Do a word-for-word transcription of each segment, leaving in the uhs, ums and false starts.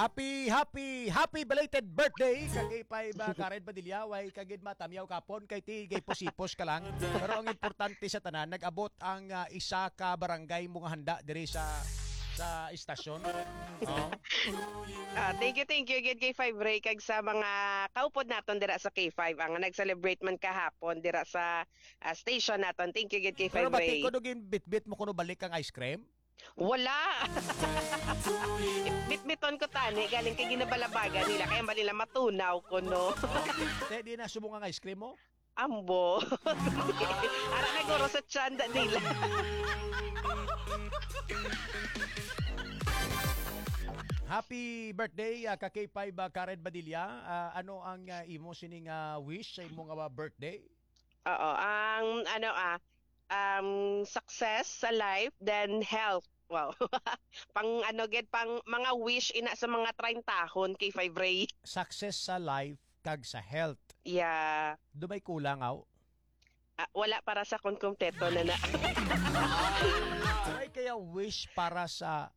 Happy, happy, happy belated birthday sa K five, ah, Karen Padilla. Way ka gid matamyaw kapon kay ti gay pusipos ka lang. Pero ang importante sa tanan, nag-abot ang, ah, isa ka barangay mo nga handa diri sa sa istasyon. Oh. Ah, thank you, thank you gid kay Five Ray kag sa mga kaupod naton dira sa K five ang nag-celebrate man kahapon dira sa ah, station naton. Thank you gid kay Pero Five Ray. Bati ko nung bitbit mo kuno balik ang ice cream. Wala. Bitbiton ko tani galing kay ginabalabagan nila kaya bali nila matunaw ko no. Te, di na subong ang ice cream mo? Ambo. Ara na guro sa tsanda nila. Happy birthday, ah, ka K five, ah, Karen Badilla. Ah, ano ang, ah, imo sining, ah, wish sa imo nga birthday? Oo, ang ano ah, um, success sa life, then health. Wow. Pang ano gid, pang mga wish ina sa mga trintahon kay Five Ray. Success sa life kag sa health. Yeah. Do may kulang aw? Ah, wala para sa kun kumpleto na na. Ay kaya wish para sa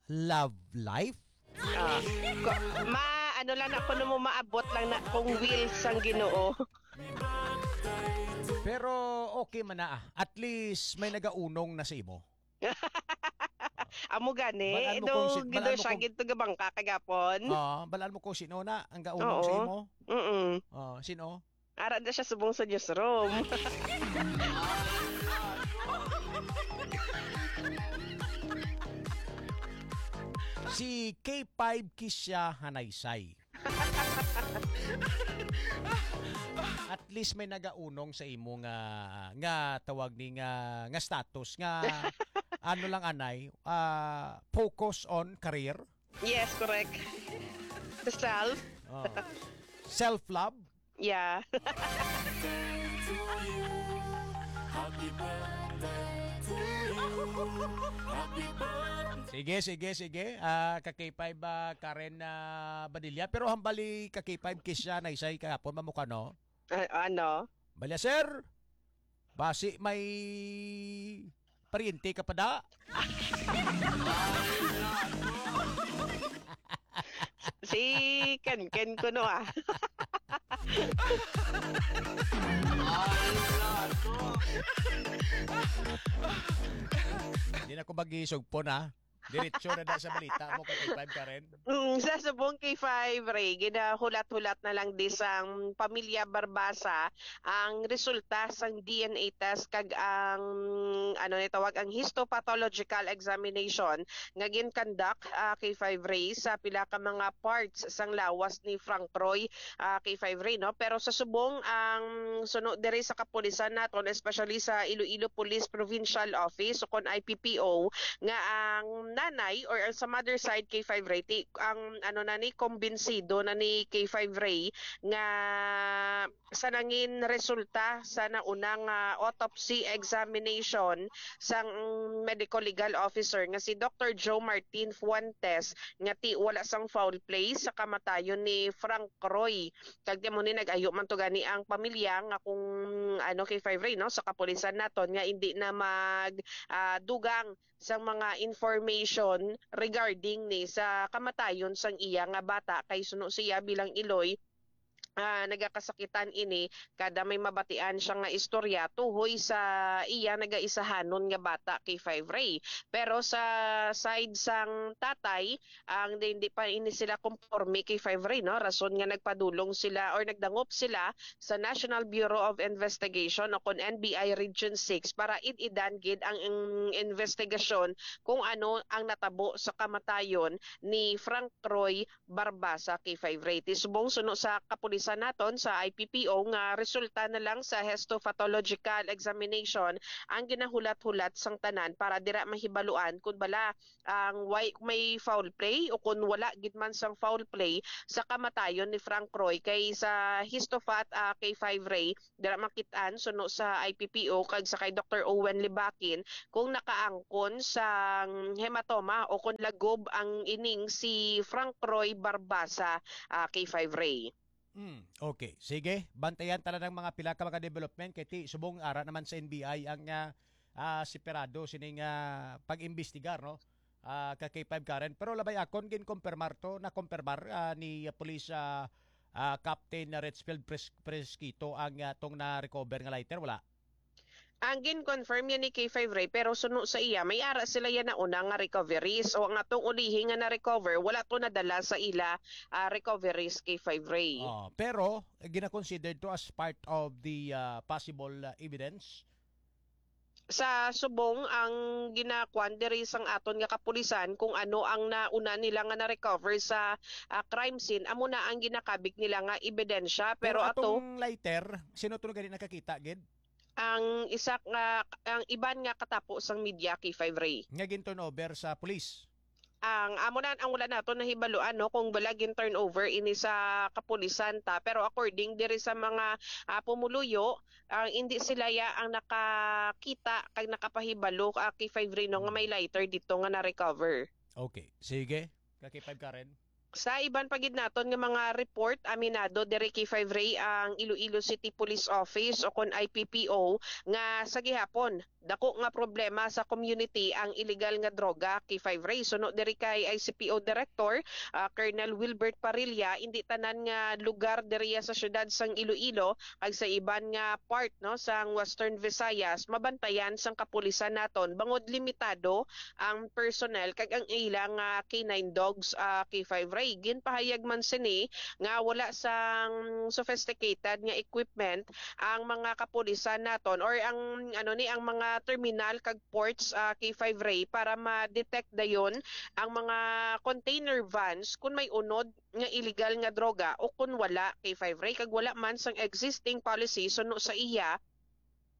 love life? Ah, ko- ma ano lang na kuno mo maabot lang na kung will sang Ginoo. Pero okay man na ah. At least may nagaunong na sa imo. Amo gani, Balaan mo do kung si- gido balaan mo siya kung- gid to gabangka kagapon. Ah, balaan mo kung sino na ang gaunong sa Oo. Imo. Mm. Ah, sino? Ara na siya subong sa newsroom. Si K five Kisha Hanaysay. At least may nagaunong sa imo nga nga tawag ni nga nga status nga ano lang anay, ah, focus on career, Yes, correct. The self. oh, self-love. Yeah. Happy birthday to you. Happy birthday. Sige, sige, sige. Ah, ka K five, ah, Karen, ah, Badilla. Pero hambali ka K five Kisha Hanaysay kahapon mamukha no. Ah, ano? Balya, sir. Basi may paryente ka pa da. Si Ken Ken ko no ah. Hindi na ko mag-isugpon ha. Diretso na da sa balita mo ka K five Karen. Mm, sa subong K five, Ray, ginahulat-hulat na lang di sang pamilya Barbasa ang resulta sang D N A test kag ang ano ni tawag ang histopathological examination nga gin-conduct ah, K five Ray sa pila ka mga parts sang lawas ni Frank Roy ah, K five Ray, no? Pero sa subong ang suno diri sa kapulisan naton, especially sa Iloilo Police Provincial Office o kon I P P O, nga ang nanay or ang sa mother side K five Ray, ti, ang ano na ni, kumbinsido na ni K five Ray nga sa nangin resulta sa naunang ah, autopsy examination sang medical legal officer nga si Doctor Joe Martin Fuentes nga ti wala sang foul play sa kamatayon ni Frank Roy. Kag di mo ni nag-ayo man to gani ang pamilya nga kung ano kay Five Ray, no, sa kapulisan naton nga hindi na mag ah, dugang sang mga information regarding ni sa kamatayon sang iya nga bata kay suno siya bilang iloy ah, nagakasakitan ini kada may mabatian siya nga istorya tuhoy sa iya nagaisahanon nga bata kay Five Ray. Pero sa side sang tatay, ang di, di pa ini sila konporme kay Five Ray, no? Rason nga nagpadulong sila or nagdangop sila sa National Bureau of Investigation o kon N B I Region six para id-idan gid ang in- investigasyon kung ano ang natabo sa kamatayon ni Frank Roy Barbasa, K five Ray. Ti subong suno sa kapulisan naton sa I P P O nga resulta na lang sa histopathological examination ang ginahulat-hulat sang tanan para dira mahibaluan kun bala ang way may foul play o kun wala gid man sang foul play sa kamatayon ni Frank Roy kay sa histophat ah, K five Ray dira makit-an suno sa I P P O kag sa kay Doktor Owen Libakin kung nakaangkon sang hematoma o kung lagob ang ining si Frank Roy Barbasa, ah, K five Ray. Mm, okay. Sige, bantayan ta lang ang mga pila ka mga development kay ti subong ara naman sa N B I ang ah, ah, separado sining ah, pag-imbestigar, no? ah, ka K five Karen. Pero labay akon, ginkumpirmar to, nakumpirmar, ah, ni, ah, Police, ah, ah, Captain Richfield Pres-, Presquito ang, ah, tong na-recover nga lighter, wala? Ang gin-confirm yan ni K five Ray, pero suno sa iya, may ara sila yan na una nga recoveries. O ang atong ulihi nga na-recover, wala to nadala sa ila, ah, recoveries, K five Ray. Oh, pero gina-consider to as part of the, ah, possible, ah, evidence? Sa subong, ang ginakuan diri sang aton nga kapulisan kung ano ang nauna nila nga na-recover sa, ah, crime scene, amo na ang ginakabig nila nga ebidensya. Pero Pero ato atong lighter, sino to gani nakakita gid? Ang isa nga, ang iban nga katapo sang media, K five Ray. Nga gin-turnover sa pulis. Ang amo na ang wala nato nahibaluan, no, kung wala gin-turnover ini sa kapulisan ta. Pero according diri sa mga, ah, pumuluyo, ang hindi sila ya ang nakakita kag nakapahibalo, ah, K five Ray, no, nga may lighter dito nga na-recover. Okay. Sige. Ka K five Karen. Sa iban pa gid naton nga mga report, aminado diri K five Ray ang Iloilo City Police Office o kon I P P O nga sa gihapon dako nga problema sa community ang illegal nga droga, K five Ray. Suno diri kay I C P O Director, ah, Colonel Wilbert Parrilla, indi tanan nga lugar diriya sa siyudad sang Iloilo kag sa iban nga part, no, sang Western Visayas mabantayan sang kapulisan naton bangod limitado ang personnel kag ang ila nga K nine dogs, ah, K five Ray. Ginpahayag man sini nga wala sang sophisticated nga equipment ang mga kapulisan naton or ang, ano ni, ang mga terminal kag ports, ah, K five Ray para ma-detect dayon ang mga container vans kung may unod nga illegal nga droga o kung wala, K five Ray, kag wala man sang existing policy suno sa iya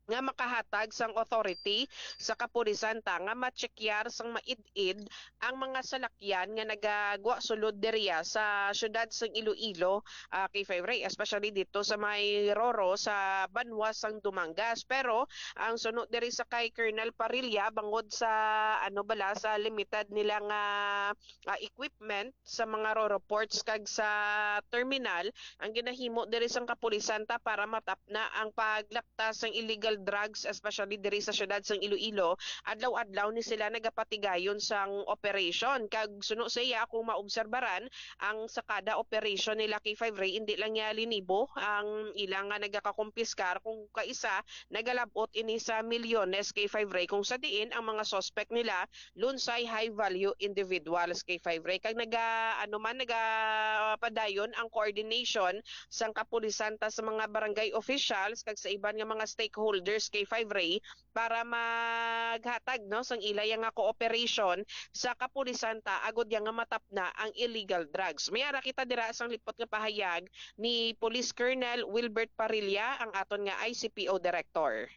nga makahatag sang authority sa kapulisan ta nga matsekyar sang maid-id ang mga salakyan nga nagagwa sulod diriya sa siyudad sang Iloilo, ah, K five Ray, especially dito sa may Roro sa banwa sang Dumangas. Pero ang suno diri sa kay Colonel Parrilla, bangod sa, ano bala, sa limited nila nga, ah, equipment sa mga Roro ports kag sa terminal, ang ginahimo diri sang kapulisan ta para matapna ang paglapta sang illegal drugs, especially diri sa siyudad sang Iloilo, adlaw-adlaw ni sila nagapatigayon sang operation. Kag suno sa iya, kung maobserbaran, ang sa kada operation nila K five Ray, hindi lang niya linibo ang ilang nga nagakakumpiskar, kung kaisa, nagalabot ini sa milyones, K five Ray, kung sa diin ang mga suspect nila lunsay high value individuals, K five Ray. Kag naga, ano man, nagapadayon ang coordination sang kapulisan ta sa mga barangay officials kag sa iban nga mga stakeholders, K five Ray, para maghatag, no, sang ilaya nga cooperation sa kapulisan ta agud ya nga matapna ang illegal drugs. May ara kita dira sang lipot nga pahayag ni Police Colonel Wilbert Parrilla, ang aton nga I C P O Director.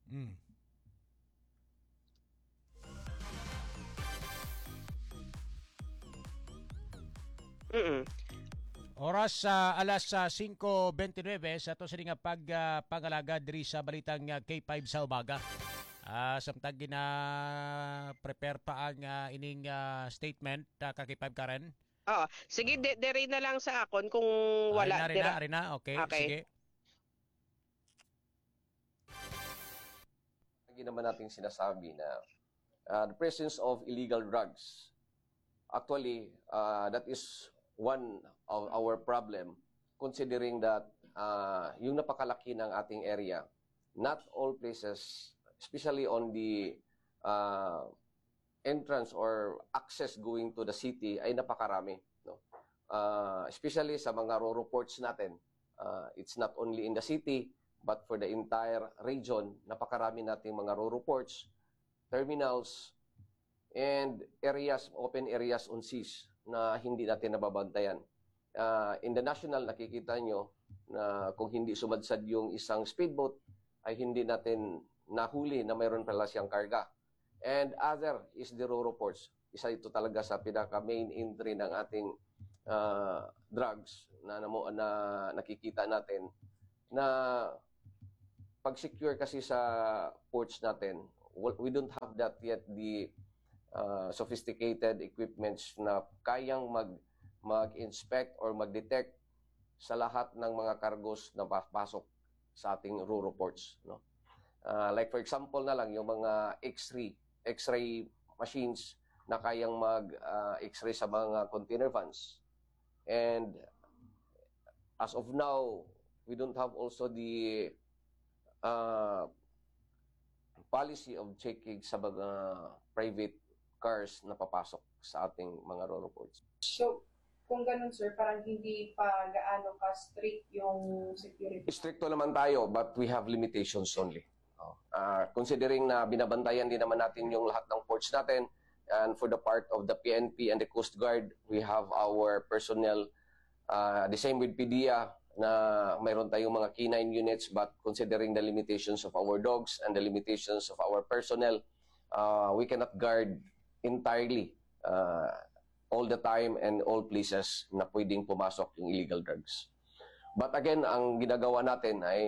Mm. Mm-mm. Oras sa alas, ah, singko bente nuebe sa ato sini nga pag, ah, pangalaga diri sa balitang, ah, K five sa umaga. Ah, samtang gina-prepare pa ang, ah, ining, ah, statement, ah, ka K five Karen. Oo. Sige, di-, diri na lang sa akon kung wala dira. Ari na, ari na. Okay, okay, sige. Lagi naman nating sinasabi na, uh, the presence of illegal drugs, actually, uh, that is one of our problem, considering that, uh, yung napakalaki ng ating area, not all places, especially on the, uh, entrance or access going to the city, ay napakarami, no? Uh, especially sa mga Roro ports natin. Uh, it's not only in the city, but for the entire region, napakarami nating mga Roro ports, terminals, and areas, open areas on seas na hindi natin nababantayan. Uh, in the national, nakikita nyo na kung hindi sumadsad yung isang speedboat, ay hindi natin nahuli na mayroon pala siyang karga. And other is the Roro ports. Isa ito talaga sa pinaka main entry ng ating, ah, drugs na, na, na nakikita natin na pag-secure kasi sa ports natin, we don't have that yet, the, ah, sophisticated equipments na kayang mag, mag-inspect or mag-detect sa lahat ng mga cargos na papasok sa ating Roro ports, no? Ah, like for example na lang, yung mga X-ray, X-ray machines na kayang mag, ah, X-ray sa mga container vans. And as of now, we don't have also the, ah, policy of checking sa mga private cars na papasok sa ating mga RoRo ports. So, kung ganun, sir, parang hindi pa gaano ka strict yung security. Stricto naman tayo, but we have limitations only. Oh. Ah, considering na binabantayan din naman natin yung lahat ng ports natin, and for the part of the P N P and the Coast Guard, we have our personnel, ah, the same with PDEA, na mayroon tayong mga K nine units, but considering the limitations of our dogs and the limitations of our personnel, ah, we cannot guard entirely, ah, all the time and all places na pwedeng pumasok yung illegal drugs. But again, ang ginagawa natin ay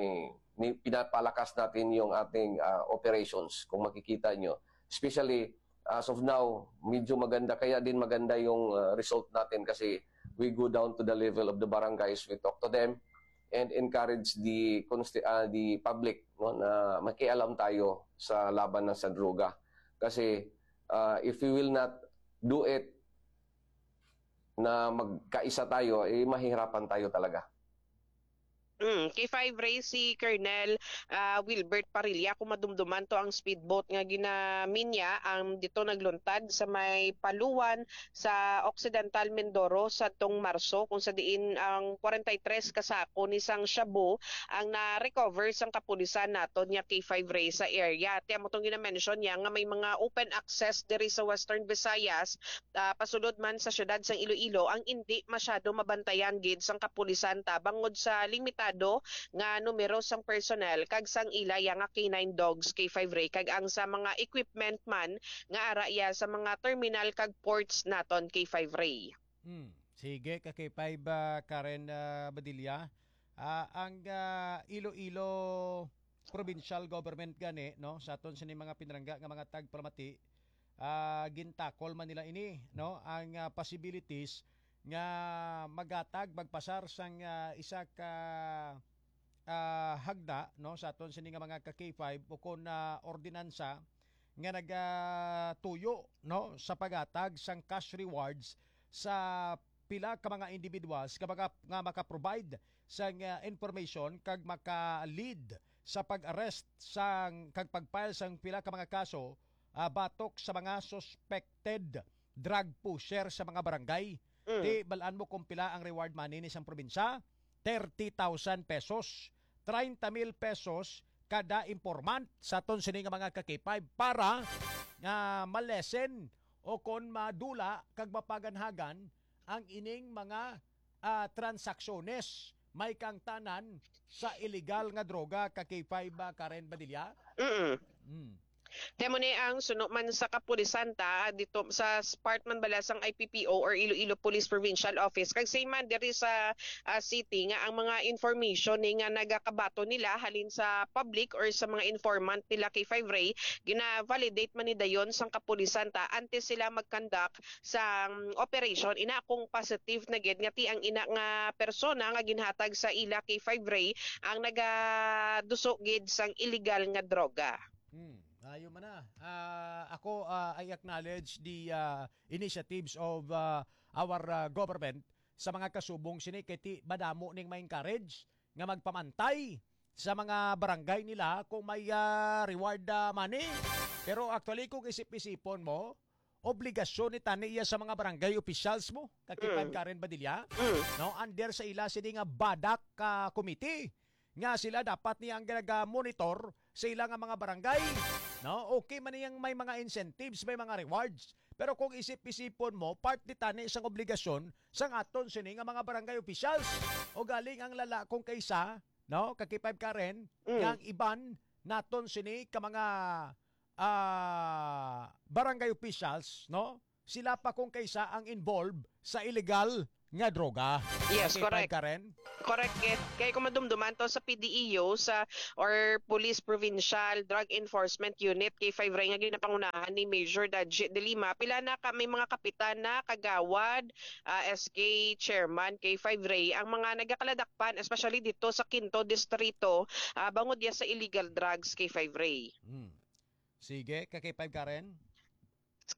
ni-, pinapalakas natin yung ating, ah, operations. Kung makikita nyo, especially as of now, medyo maganda, kaya din maganda yung, ah, result natin kasi we go down to the level of the barangays, we talk to them and encourage the consti-, ah, the public, no, na makialam tayo sa laban ng sa droga. Kasi, ah, if we will not do it, na magkaisa tayo, eh, mahihirapan tayo talaga. Mm, K five Ray, si Colonel, ah, Wilbert Parilla, kung madumduman to ang speedboat nga ginaminya, ang dito nagluntad sa may Paluan sa Occidental Mindoro sa tong Marso, kung sa diin ang forty-three ka sako ni sang shabu ang na-recover sang kapulisan naton nga K five Ray sa area. Ti amo tong gina-mention niya nga may mga open access diri sa Western Visayas, ah, pasulod man sa siyudad sang Iloilo, ang indi masyado mabantayan gid sang kapulisan ta bangod sa limitado nga numero sang personnel kag sang ila ya nga K nine dogs, K five Ray, kag ang sa mga equipment man nga ara ya sa mga terminal kag ports naton, K five Ray. Hmm. Sige, ka K five, ah, Karen, ah, Badilla. Ah, ang, ah, Iloilo provincial government gani, no, sa aton sini mga pinrangga nga mga tagpalamati, ah, gintakol man nila ini, no, ang, ah, possibilities nga magatag, magpasar sang, ah, isa ka, ah, hagda, no, sa aton sini nga mga ka K five o kon, ah, ordinansa nga nagatuyo, no, sa paghatag sang cash rewards sa pila ka mga individuals nga, maka, nga maka-provide sang, ah, information kag maka-lead sa pag-arrest sang kag pag-file sang pila ka mga kaso, ah, batok sa mga suspected drug pusher sa mga barangay. Mm. Ti, bal-an mo kung pila ang reward money ni sang probinsya? Thirty thousand pesos, treinta mil pesos kada informant sa aton sini nga mga ka K five para nga ma-lessen o kon madula kag mapaganhagan ang ining mga, ah, transaksyones may kaangtanan sa illegal nga droga, ka K five, ah, Karen Badilla? Mm. Mm. Kaya mo ni ang suno man sa kapulisan ta dito sa s-, part man bala sang I P P O or Iloilo Police Provincial Office, kag same man diri sa, ah, city, nga ang mga information ni nga nagakabato nila halin sa public or sa mga informant nila, K five Ray, gina-validate man ni dayon sang kapulisan ta antes sila mag-conduct sang operation. Ina kung positive na gid nga ti ang ina nga persona nga ginhatag sa ila, K five Ray, ang nagaduso gid sang illegal nga droga. Hmm, ayo man na. Ah, ako, ah, I acknowledge the, ah, initiatives of, ah, our, ah, government sa mga kasubong sini, kay ti madamo ning ma-encourage nga magpamantay sa mga barangay nila kung may, ah, reward, ah, money. Pero actually, kung isip-isipon mo, obligasyon ni tani iya sa mga barangay officials mo, ka K five, mm, Karen Badilla, mm, no, under sa ila sini nga BADAC, ah, committee, nga sila dapat niya ang ganaga-monitor sa ila nga mga barangay, no? Okay man niyang may mga incentives, may mga rewards, pero kung isip-isipon mo, part ni tani sang obligasyon sang aton sini nga mga barangay officials. O galing ang lala kung kaysa, no, ka K five, Karen, mm, nga ang iban naton sini ka mga, ah, barangay officials, no? Sila pa kung kaysa ang involved sa illegal nga droga. Yes, K five, correct. Karen? Correct, Ed. Kay kung madumduman to sa P D E U, sa, or Police Provincial Drug Enforcement Unit, K five Ray, nga ginapangunahan ni Major Daji de Lima, pila na ka, may mga kapitan na, kagawad, ah, S K chairman, K five Ray, ang mga nagakaladakpan, especially dito sa Quinto Distrito, ah, bangod ya sa illegal drugs, K five Ray. Hmm. Sige, ka K five Karen?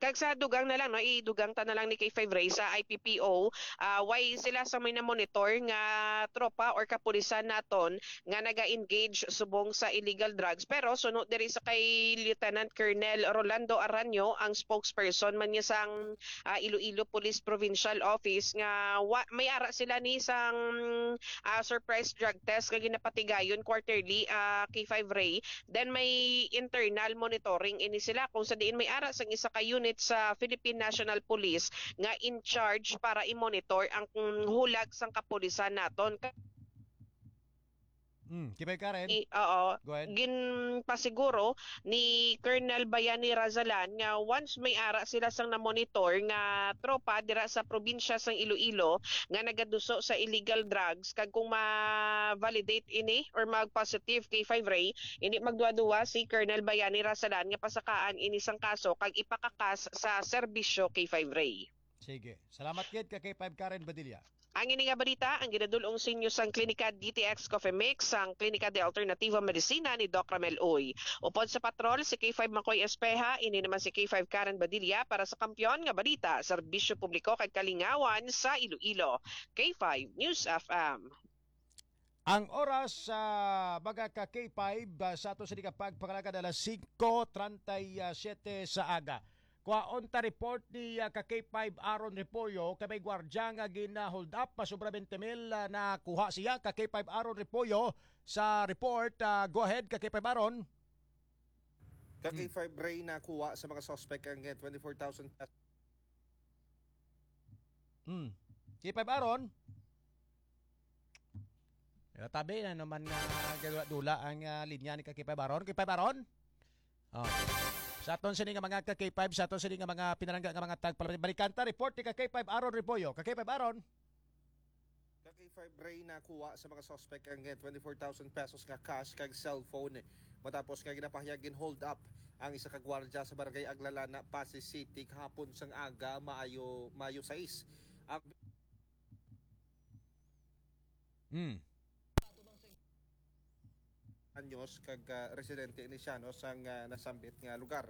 Kag sa dugang na lang, no, idugang ta na lang ni K five Ray sa I P P O, ah, why sila sa may na-monitor nga tropa or kapulisan naton nga naga-engage subong sa illegal drugs. Pero suno diri sa kay Lieutenant Colonel Rolando Aranyo, ang spokesperson man niya sang, ah, Iloilo Police Provincial Office, nga wa, may ara sila ni sang, ah, surprise drug test nga ginapatigayon quarterly, ah, K five Ray. Then may internal monitoring ini sila kung sa diin may ara sang isa ka unit sa Philippine National Police nga in charge para i-monitor ang, mm, hulag sang kapulisan naton. Mm, K five Karen. I-, oo. Go ahead. Ginpasiguro ni Colonel Bayani Razalan nga once may ara sila sang na-monitor nga tropa dira sa probinsya sang Iloilo nga nagaduso sa illegal drugs, kag kung ma-validate ini or mag-positive K five Ray, hindi magduwa-duwa si Colonel Bayani Razalan nga pasakaan ini sang kaso kag ipakakas sa serbisyo K five Ray. Sige. Salamat gid ka K five Karen Badilla. Ang ini nga balita ang ginadul-ong sa inyo sang Klinika D T X Coffee Mix, sang Klinika de Alternativa Medicina ni Doc Ramel Uy. Upod sa patrol, si K five Makoy Espeha, ini naman si K five Karen Badilla para sa Kampiyon nga Balita, Serbisyo Publiko kag Kalingawan sa Iloilo. K five News F M. Ang oras sa mga ka K five, ah, sa ato sini nga pagpangalagad alas singko treinta y siete sa aga. Kuhaon ta report ni, ah, ka K five Aaron Repollo, kay may gwardya nga gina-hold up, pasobra twenty mil, ah, nakuha siya. Ka K five Aaron Repollo sa report. Ah, go ahead, ka K five Aaron. Ka Hmm. K five Ray, nakuha sa mga suspect ang, eh, twenty-four thousand pesos. Hmm. K five Aaron? Eh, tabi na naman nga gagula-dula ang, ah, linya ni ka K five Aaron. K five Aaron? Oh. Sa aton sini nga mga ka K five, sa aton sini nga mga pinalangga nga mga tagpalabay. Balikan ta, report ni ka K five Aaron Repollo. Ka K five Aaron? Ka K five Ray, nakuha sa mga suspect ang, eh, twenty-four thousand pesos nga cash kag cellphone. Matapos nga ginapahayag, gin-hold up ang isa ka gwardya sa Barangay Aglalana, Passi City, kahapon sang aga, maayo, Mayo sais. Ang Hmm. Anyos kag, ah, residente ini siya, no, sang, ah, nasambit nga lugar.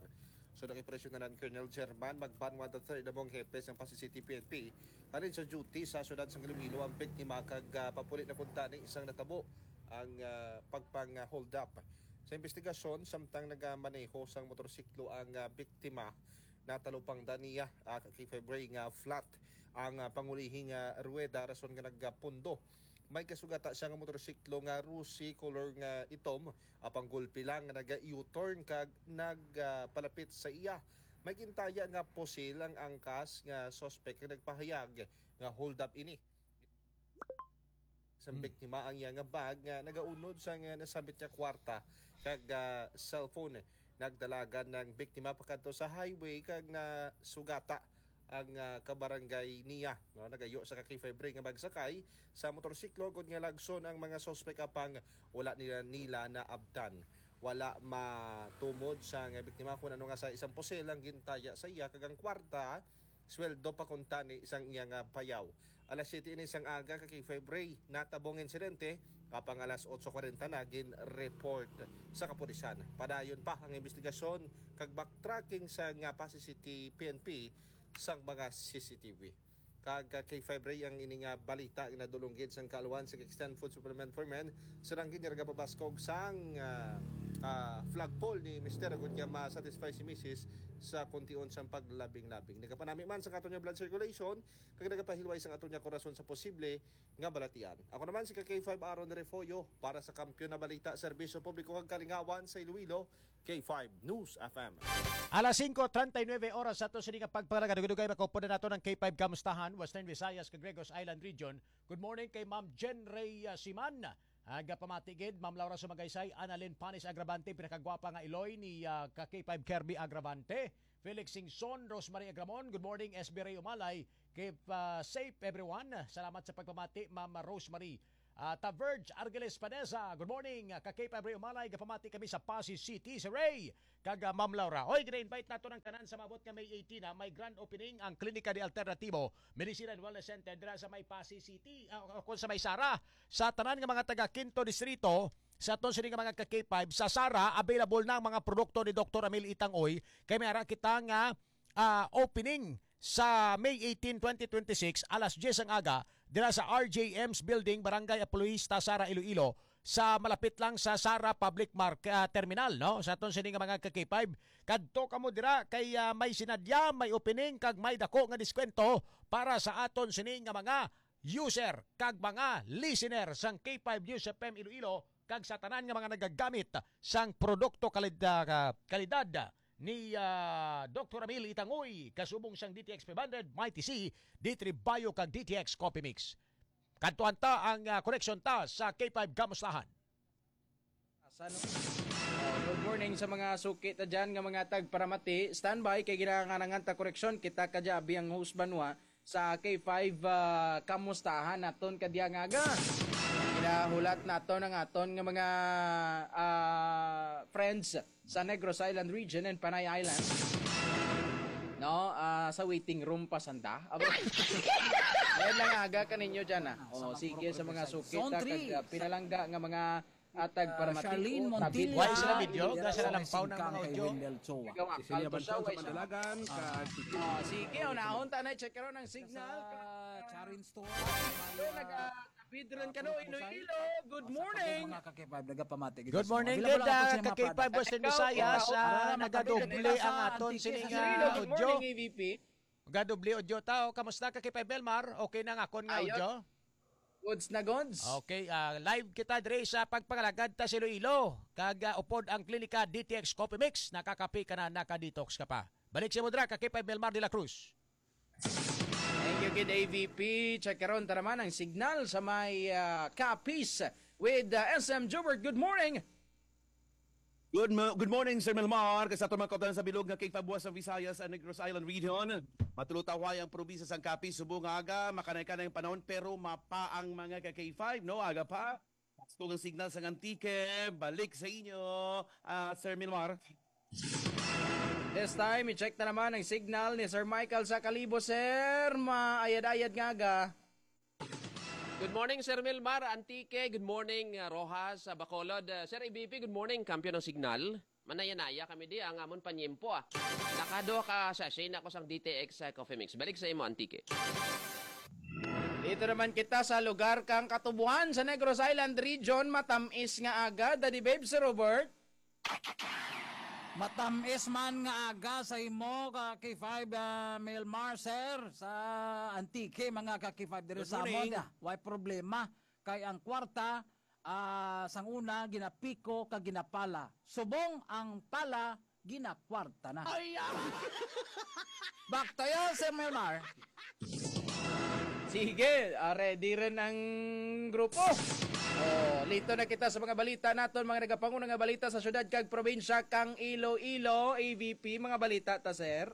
So, nag-impresyon na lang Colonel German Magbanwa the third, among hepe sang Passi City P N P, halin sa duty sa siyudad sang Iloilo ang biktima kag, ah, papuli na kuntani sang natabo ang, ah, pagpang, ah, hold up. Sa investigasyon, samtang nagamaneho sang motorsiklo ang, ah, biktima, natalupangdan niya, ah, ka K five Ray, nga flat ang, ah, pangulihing, ah, ruweda, rason nga nagpundo. May kasugata siya nga motorsiklo nga Rusi, color nga itom, apang gulpi lang nga naga-U-turn kag nagpalapit sa iya. May gintaya nga pusil ang angkas nga suspect nga nagpahayag nga hold up ini. Sa Hmm. biktima ang iya nga bag nga nagaunod sa nga nasambit nga kwarta kag, ah, cellphone. Nagdalagan ang biktima pakadto sa highway kag nasugata ang, ah, kabarangay niya, no? Nagayo sa ka K five Ray nga magsakay sa motorsiklo gud nga lagson ang mga suspek, apang wala nila, nila naabtan. Wala matumod sa nga biktima kung ano nga sa isang pusil ang gintaya sa iya, kag ang kwarta, sweldo pa kuntani sang iya nga bayaw. Alas siyete ini sang aga ka K five Ray, natabong insidente, apang alas otso kwarenta na gin-report sa kapulisan. Padayon pa ang investigasyon kag backtracking sa nga Passi City P N P sang mga C C T V. Kag, ah, K five Ray, ang ini nga balita ginadulong gid sang kaaluhan sa Extend Food Supplement for Men, sa nang ginirga pabaskog sang, ah, ah, flagpole ni Mister, agud nga ma-satisfy si Misis sa kuntion sang paglabing-labing. Nagapanami man sa aton nga blood circulation, kag nagapahilway sang aton nga korason sa posible nga balatian. Ako naman si ka K five Aaron Refollo para sa Kampiyon na Balita, Serbisyo Publiko kag Kalingawan sa Iloilo, K five News F M. Alas singko treinta y nueve oras sa ato sini nga pagpangalaga. Dugay-dugay, makupod na nato ng K five Kamustahan, Western Visayas, kag Negros Island Region. Good morning kay Ma'am Jen Rey, ah, Siman. Aga pamati gid, Ma'am Laura Sumagaysay, Annalyn Panis Agravante, pinakagwapa nga iloy ni, ah, ka K five Kirby Agravante. Felix Singson, Rosemary Agramon. Good morning, S B Ray Umalay. Keep, ah, safe, everyone. Salamat sa pagpamati, Ma'am Rosemary. Ah, Taverge Argeles Padeza, good morning. Ka K five Ray Umalay, gapamati kami sa Passi City, si Ray, kag, ah, Ma'am Laura. Oy, gina-invite nato ang tanan sa maabot nga May eighteen, ha. May grand opening ang Klinika de Alternativo Medicine and Wellness Center dira sa may Passi City, ah, o kung sa may Sara. Sa tanan nga mga taga Quinto Distrito, sa aton sini nga mga ka K five, sa Sara, available na ang mga produkto ni Doktor Amil Itangoy. Kay may ara kita nga, ah, opening sa May eighteen, twenty twenty-six, alas diyes ang aga, dira sa R J M's Building, Barangay Apolohista, Sara, Iloilo, sa malapit lang sa Sara Public Mark-, ah, Terminal, no? Sa aton sini nga mga ka K five, kadto kamo dira kay, ah, may sinadya, may opening, kag may dako nga diskwento para sa aton sini nga mga user kag mga listener sang K five News F M Iloilo kag sa tanan nga mga nagagamit sang produkto kalid-, ah, kalidad ni, ah, Doktor Amil Itangoy, kasubong sang D T X five hundred, Mighty C, D three Bio kag D T X Coffee Mix. Kadtuan ta ang, ah, koneksyon ta sa K five Kamustahan. Asa, no? Oh, good morning sa mga suki ta dyan nga mga tagparamati. Standby kay ginanganangan ta koreksyon. Kita ka dya, abi ang host banwa sa K five, ah, Kamustahan naton kadya nga aga. Ginahulat naton ang aton nga mga, ah, friends sa Negros Island region and Panay Island. No, ah, sa waiting room pa sanda. Abo. Ngayon lang aga kaninyo dyan, ah. Oh, sige sa mga suki ta kag, ah, pinalangga nga mga, ah, tagparamati. Charlene Montillo. Why sila video? Wala sila lampaw ng mga audio. Cecilia Banchon sa Manalagan, kag si Kim. Ah, sige, unahon ta na, check karon ang signal. Sa Charin Store. Nag-, ah, Bidron ka, no, Iloilo. Good morning. Mga ka K five, nagapamati kita. Good morning, good, ah, ka K five Western Visayas. Ah, nagadoble ang aton sini nga audio. Good morning, A V P. Gadoble audio ta. O, kamusta ka K five Belmar? Okay na ang akon nga audio? Goods na goods. Okay, ah, live kita diri sa pagpangalagad ta sa Iloilo. Kag, ah, upod ang klinika D T X Coffee Mix. Nakakape ka na, naka-detox ka pa. Balik sa mo dira, ka K five Belmar de la Cruz. Thank you, kid A V P. Check karon ta naman ang signal sa may, ah, Capiz with, ah, S M Jobert. Good morning. Good mo-, good morning, Sir Melmar. Kay sa aton mga kautan sa bilog nga K five Buwas sa Visayas and Negros Island Region. Matulutaway ang probinsya sang Capiz subong nga aga, makanay-kanay ang panahon, pero mapa ang mga ka K five, no? Aga pa. Gusto ang signal sang Antique. Balik sa inyo, ah, Sir Milmar. This time, i-check na naman ang signal ni Sir Michael sa Kalibo, sir. Maayad-ayad nga aga. Good morning, Sir Milmar, Antique. Good morning, uh, Rojas, uh, Bacolod. Uh, Sir A V P, good morning. Kampiyon ang signal. Manaya-naya kami di, ang amon panyempo, ah. Nakaduha ka sachet na ako sang D T X, uh, Coffee Mix. Balik sa imo, Antique. Dito naman kita sa lugar kang Katubuhan sa Negros Island Region. Matamis nga aga, Daddy Babe, Sir Robert. Matamis man nga aga sa imo, ka K five, ah, Melmar, sir, sa Antique, mga ka K five, diri sa amon, ah, way problema. Kay ang kwarta, ah, sang una, ginapiko kag ginapala. Subong ang pala, ginakwarta na. Ay, ah! Back to you, Sir Melmar. Sige, ah, ready rin ang grupo. Oh, lito na kita sa mga balita naton, mga nagapanguna nga balita sa syudad kag probinsya kang Iloilo, A V P, mga balita ta, sir.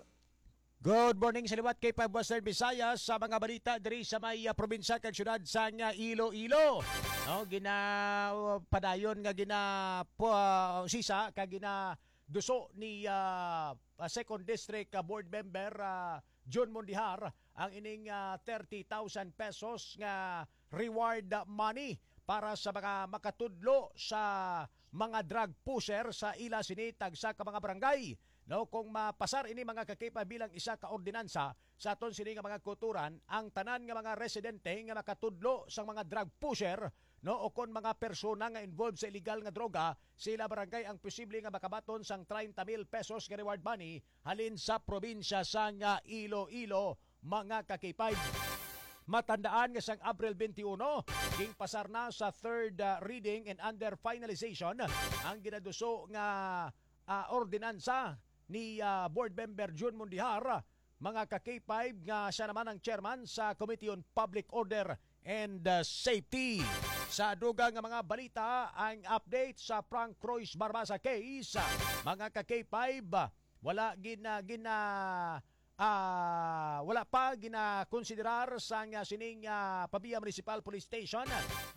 Good morning sa liwat kay Five Western Visayas. Sa mga balita diri sa may, ah, probinsya kag syudad sang, ah, Iloilo. No, gina-, padayon nga gina-, pu-, sisa ka ginaduso ni, ah, ah, Second District, ah, Board Member, ah, Jun Mondejar ang ining, ah, thirty thousand pesos nga reward money para sa mga makatudlo sa mga drug pusher sa ila sini tagsa ka mga barangay. No, kung mapasar ini, mga ka-K five, bilang isa ka ordinansa sa aton sini nga mga kulturan, ang tanan nga mga residente nga makatudlo sang mga drug pusher, no, o kon mga persona nga involved sa illegal nga droga sa ila barangay ang posible nga makabaton sang treinta mil pesos nga reward money halin sa probinsya sang, ah, Iloilo, mga ka-K five. Matandaan nga sang Abril twenty-one, ginpasar na sa third, ah, reading and under finalization ang ginaduso nga, ah, ordinansa ni, ah, Board Member Jun Mondejar, mga ka-K five, nga siya naman ang chairman sa Committee on Public Order and, ah, Safety. Sa dugang nga mga balita, ang update sa Frank Croix Barbasa case, mga ka-K five, Wala gina, gina, ah, wala pa ginakonsiderar sang, ah, sining, ah, Pavia Municipal Police Station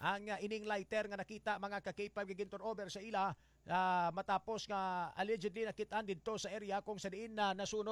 ang, ah, ining lighter nga nakita, mga ka-K five, nga gin-turnover sa ila, ah, matapos nga allegedly nakit-an didto sa area kung sa diin na nasunog